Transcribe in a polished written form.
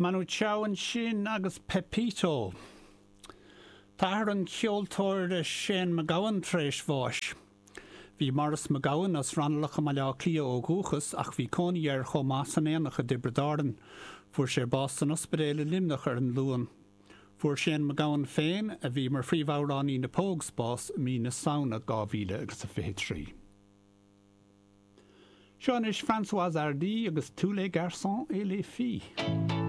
Manu Chao ansin agus Pepito. Tá athair an cheoltóra Shane MacGowan tar éis bháis. Bhí Maurice MacGowan as Raghnallach i mBaile Átha Cliath ó dhúchas ach bhí cónaí air chomh maith san Aonach i dTiobraid Árann. Fuair sé bás san ospidéal i Luimneach ar an Luan. Fuair Shane MacGowan féin, a bhí mar phríomhamhránaí na Pogues, bás i mí na Samhna 2023. Seo anois Françoise Hardy agus Tous les garçons et les filles.